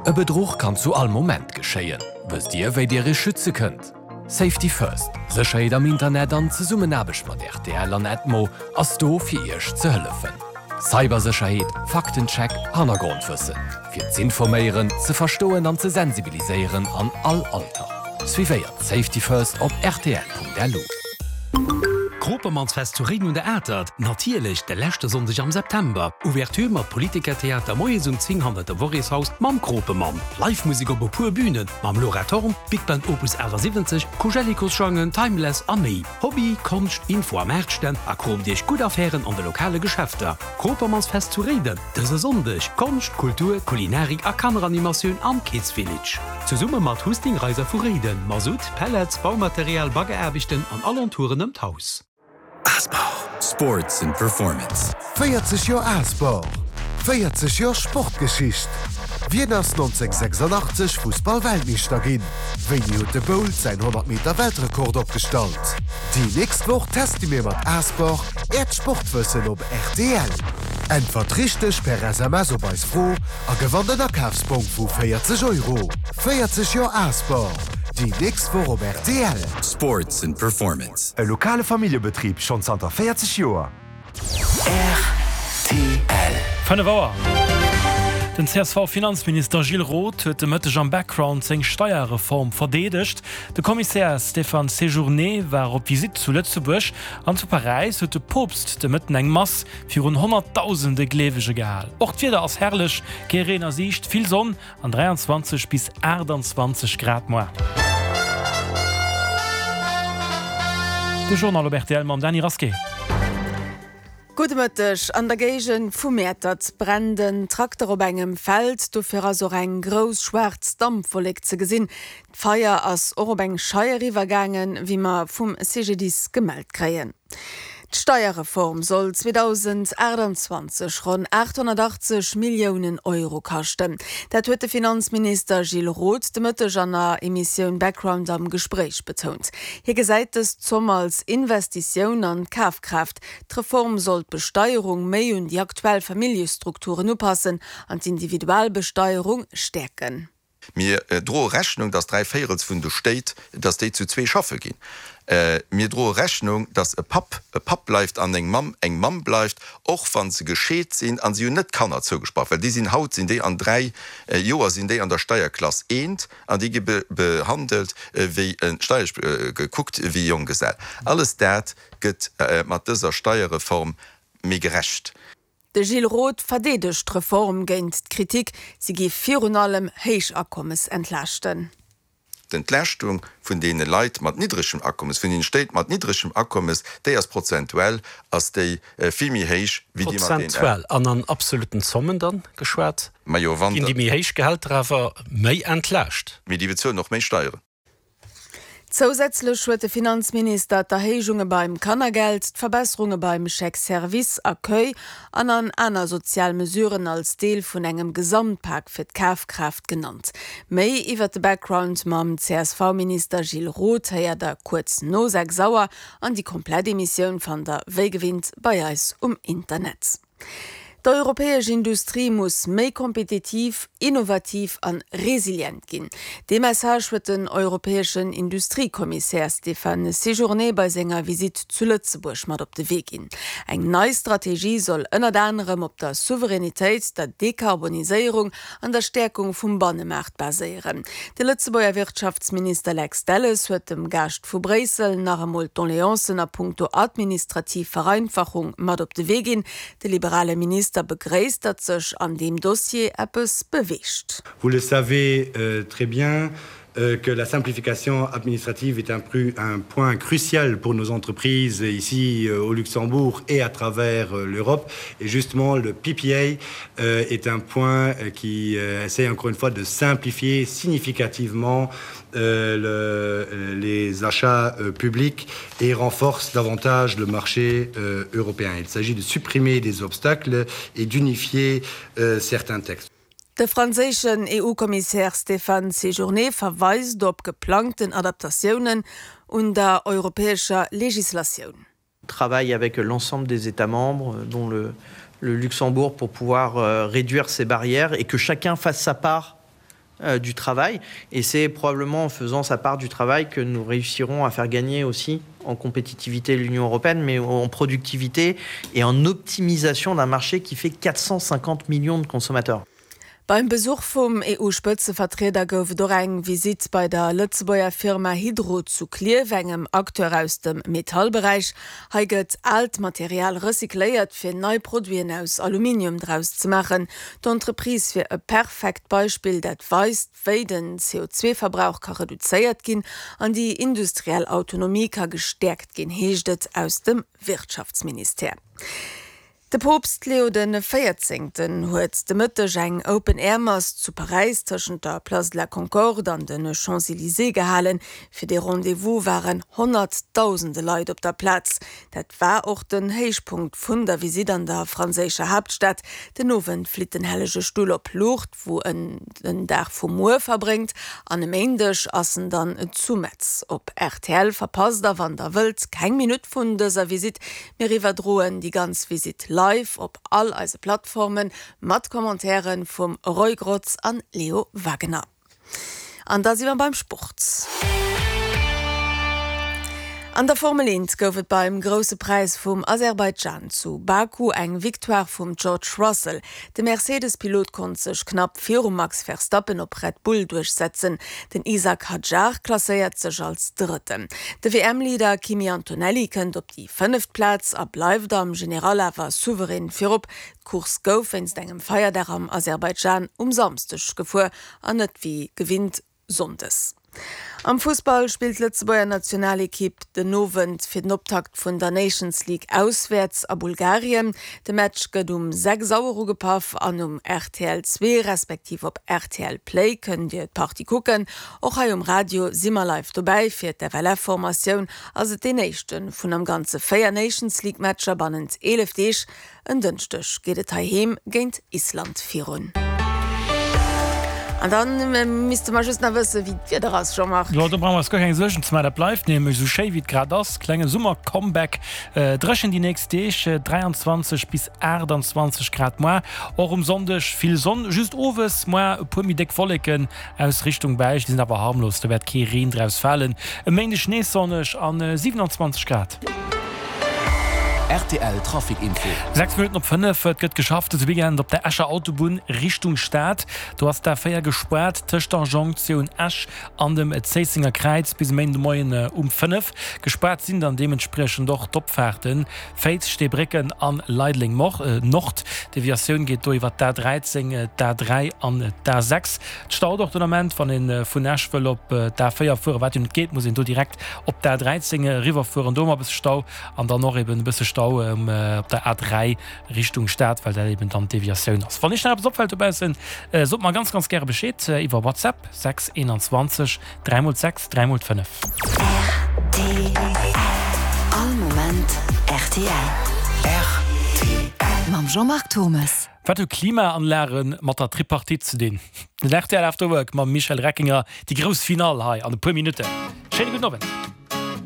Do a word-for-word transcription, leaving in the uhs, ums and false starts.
E Bedruch kann zu all Moment geschéien. Wësst Dir, wéi Dir Iech schütze kënnt? Safety First, Sécherheet am Internet an Zesummenaarbecht mat rtl an Edmo ass do fir Iech ze hëllefen. Cybersécherheet, Faktencheck, Hannergrondwëssen. Fir z'informéieren, ze verstoen an ze sensibiliséieren an all Alter. Suivéiert Safety First op rtl.lu. Kropermannsfest zu Réiden un der Atert, natierlech de leschte Sonndeg am September. Ouverture mat Politikertheater moies um zéng hannert dem Worréshaus mam Kropemann. Live-Musek op e puer Bünen mam Laura Thorn, Big Band Opus achtasiwwenzeg, Koujellikos-Jongen, Timeless a méi. Hobby, Konscht, Info a Maartstänn a kroopt iech gutt Affären an de lokale Geschäfter. Kropermannsfest zu Réiden, dëse Sonndeg, Konscht, Kultur, Kulinarik a Kanneranimatioun am Kids Village. Zesumme mat Husting Reiser vu Réiden, Masutt, Pellets, Baumaterial, Baggeraarbechten an Alentouren ëm d'Haus. Asport. Sports and Performance. véierzeg Joer Asport, véierzeg Joer Sportgeschicht. Wien ass nonzénghonnertsechsandachtzeg Fussball-Weltmeeschter ginn? Wéini huet de Bolt säin honnert Meter Weltrekord opgestallt? Déi nächst Woch teste mir mat Asport äert Sportwëssen op rtl. Äntwert richteg per S M S op eis Fro a gewannt en Akafsbong vu véierzeg Euro. véierzeg Joer Asport, déi nächst Woch op rtl. Sports and Performance. E lokale Familljebetrib schonn zanter véierzeg Joer. R T L. Fënnef Auer. Den C S V-Finanzminister Gilles Roth huet de Mëtteg am Background seng Steierreform verdeedegt. De Kommissär Stéphane Séjourné war op Visitt zu Lëtzebuerg an zu Paräis huet de Poopst de Mëtten eng Mass virun honnertdausende Gleewege gehal. Och d'Wieder ass herrlech, kee Reen a Siicht, vill Sonn an dräianzwanzeg bis aachtanzwanzeg Grad muer. De Journal op rtl mam Dany Rasqué. Gudde Mëtteg. An der Géigend vu Mäertert brennt en Trakter op engem Feld. Dofir ass och eng grouss schwaarz Dampwollek ze gesinn. D'Feier ass och op eng Scheier iwwergaangen, wéi mer vum C G D I S gemellt kréien. D'Steierreform soll zweedausendaachtanzwanzeg ronn aathonnertachtzeg Milliounen Euro kaschten. Dat huet de Finanzminister Gilles Roth de Mëtteg an der Emissioun Background am Gespréich betount. Hie gesäit dës Zomm als Investitioun an d'Kafkraaft. D'Reform soll d'Besteierung méi un déi aktuell Familljestrukturen upassen an d'Individualbesteierung stäerken. Mir droe Rechnung, dass dräi Véierels vun de Stéit, dass déi zu zwee schaffe ginn. Mir droe Rechnung, dass e Papp e Papp bleift an eng Mamm eng Mamm bleift, och wa se gescheet sinn a si hunn net Kanner zougesprach, well déi sinn haut sinn déi an dräi Joer sinn déi an der Steierklass eent an déi gi behandelt wéi steierlech gekuckt wéi Jonggesell. Alles dat gëtt mat dëser Steierreform méi gerecht. De Gilles Roth verdeedegt d'Reform géint d'Kritik, si géif virun allem Héichakommes entlaaschten. D'Entlaaschtung vun deene Leit mat niddregem Akommes, vun deene Stéit mat niddregem Akommes, déi ass prozentuell ass déi vill méi héich wéi déi mat deenen. Prozentuell an an absolutten Zommen dann geschwat, Majo, wann ginn déi méi héich Gehälter awer méi entlaascht. Mee déi bezuelen och méi Steieren. Zousätzlech huet de Finanzminister d'Erhéijunge beim Kannergeld, d'Verbesserunge beim Chèque Service Accueil an an aner sozial Mesuren als Deel vun engem Gesamtpak fir d'Kafkraaft genannt. Méi iwwer de Background mam C S V-Minister Gilles Roth héiert der kuerz no sechs Auer an déi komplett Emissioun fannt der wéi gewinnt bei eis um Internet. D'europäesch Industrie muss méi kompetitiv, innovativ an resilient ginn. Dee Message huet den europäeschen Industriekommissär Stéphane Séjourné bei senger Visitt zu Lëtzebuerg mat op de Wee ginn. Eng nei Strategie soll ënnert anerem op der Souveränitéit, der Dekarboniséierung an der Stäerkung vum Bannemaart baséieren. De Lëtzebuerger Wirtschaftsminister Lex Delles huet dem Gaascht vu Bréissel nach emol d'Doleancen a punkto administrativ Vereinfachung mat op de Wee ginn. De liberale Minister begréisst, datt sech an deem Dossier eppes beweegt. Vous le savez euh, très bien euh, que la simplification administrative est un, un point crucial pour nos entreprises ici euh, au Luxembourg et à travers euh, l'Europe. Et justement, le P P A euh, est un point euh, qui euh, essaie encore une fois de simplifier significativement euh, le, euh, les achats euh, publics et renforce davantage le marché euh, européen. Il s'agit de supprimer des obstacles et d'unifier euh, certains textes. De franséischen E U-Kommissär Stéphane Séjourné verweist op geplangten Adaptatiounen un der europäescher Legislatioun. Travaille avec l'ensemble des États membres, dont le, le Luxembourg, pour pouvoir euh, réduire ces barrières et que chacun fasse sa part. euh, du travail et c'est probablement en faisant sa part du travail que nous réussirons à faire gagner aussi en compétitivité l'Union européenne mais en productivité et en optimisation d'un marché qui fait quatre cent cinquante millions de consommateurs. Beim Besuch vum EU-Spëtzevertrieder gouf et och eng Visitt bei der Lëtzebuerger Firma Hydro zu Klierf, engem Acteur aus dem Metallberäich. Hei gëtt aalt Material recycléiert, fir nei Produiten aus Aluminium draus ze maachen. D'Entreprise wier e perfekt Beispill, dat weist, wéi den C O zwei Verbrauch ka reduzéiert ginn an déi industriell Autonomie ka gestäerkt ginn, heescht et aus dem Wirtschaftsministère. De Poopst Leo den Véierzéngten huet de Mëtteg eng Open-Air-Mass zu Paräis tëschent der Place de la Concorde an de Champs-Élysées gehalen. Fir dee Rendez-vous waren honnertdausende Leit op der Plaz. Dat war och den Héichpunkt vun der Visitt an der franséischer Haaptstad. Den Owend flitt den Hellege Stull op Lourdes, wou en den Dag vu muer verbréngt. An e Méindeg ass en dann zu Metz. Op R T L verpasst der, wann der wëllt, keng Minutt vun dëser Visitt. Mir iwwerdroen déi ganz Visitt live op all eise Plattformen mat Kommentairen vum Roy Grotz an Leo Wagener. An da si mer beim Sport. An der Formel eent gouf et beim Grousse Präis vum Aserbaidschan zu Baku eng Victoire vum George Russell. De Mercedes-Pilot konnt sech knapp virum Max Verstappen op Red Bull duerchsetzen. Den Isack Hadjar klasséiert sech als Drëtten. De W M-Leader Kimi Antonelli kënnt op déi fënneft Plaz a bleift am General awer souverän virop. D'Course gouf wéinst engem Feierdag am Aserbaidschan um Samschdeg gefuer an net wéi gewinnt sonndes. Am Fussball spillt d'Lëtzebuerger Nationalekipp den Owend fir den Optakt vun der Nations League auswäerts a Bulgarien. De Match gëtt um sechs Auer ugepaff an um R T L zwee respektiv op R T L Play kënnt Dir d'Partie kucken. Och hei um Radio si mer live dobäi. Fir d'F L F-Formatioun ass et deen éischte vun am Ganze véier Nations League-Matcher bannent eelef Deeg. En Dënschdeg geet et heiheem géint Island virun. An dann, äh, misste mer just nach wëssen, wéi d'Wieder ass, Jean-Marc. Jo, do brauche mer eis guer keng Suergen ze maachen. Dat bleift nämlech esou schéi, wéi et grad ass. Klenge Summer-Comeback. Äh, dréchen déi nächst Deeg, äh, dräianzwanzeg bis aachtanzwanzeg Grad moar. Och um Sonndeg vill Sonn, just owes moar e puer méi déck Wolleken aus Richtung Belsch, déi sinn awer harmlos, do wäert kee Reen draus falen. E Méindeg nees sonneg an, äh, siewenundzwanzeg Grad. R T L Trafic Info. Sechs Minuten op fënnef, et gëtt geschafft dëse Weekend op der Escher Autobunn Richtung Stad. Do ass d'A véier gespaart tëscht der Jonktioun Esch an dem Zéissenger Kräiz bis e Méindemoien, äh, um fënnef. Gespaart sinn dann deementspriechend och d'Opfahrten Féiz, Steebrécken an Leideleng Mor-, äh, Nord. D'Deviatioun geet do iwwer d'A dräizéng, äh, d'A dräi an d'A sechs. D'Stau och den Ament, wann een, äh, vun Esch wëll op, äh, d'A véier fueren, wat jo net geet, muss een do direkt op d'A dräizéng, äh, riwwerfueren. Do mat e bësse Stau an dann och eben e bësse Stau, ähm, äh, op der A dräi Richtung Stad, well dat eben dann d'Deviatioun ass. Wann iech nach eppes opfält dobaussen, äh, sot mer ganz, ganz gäre Bescheed, äh, iwwer WhatsApp sechs einundzwanzeg dräi mol sechs dräi mol fënnef. R T L. All Moment R T L. R T L. Mam Jean-Marc Thomes. Wat hu Klimaanlagen mat der Tripartite ze dinn? Den R T L After Work mam Michel Reckinger, déi grouss Finale hei an e puer Minutten. Schéine gudden Owend.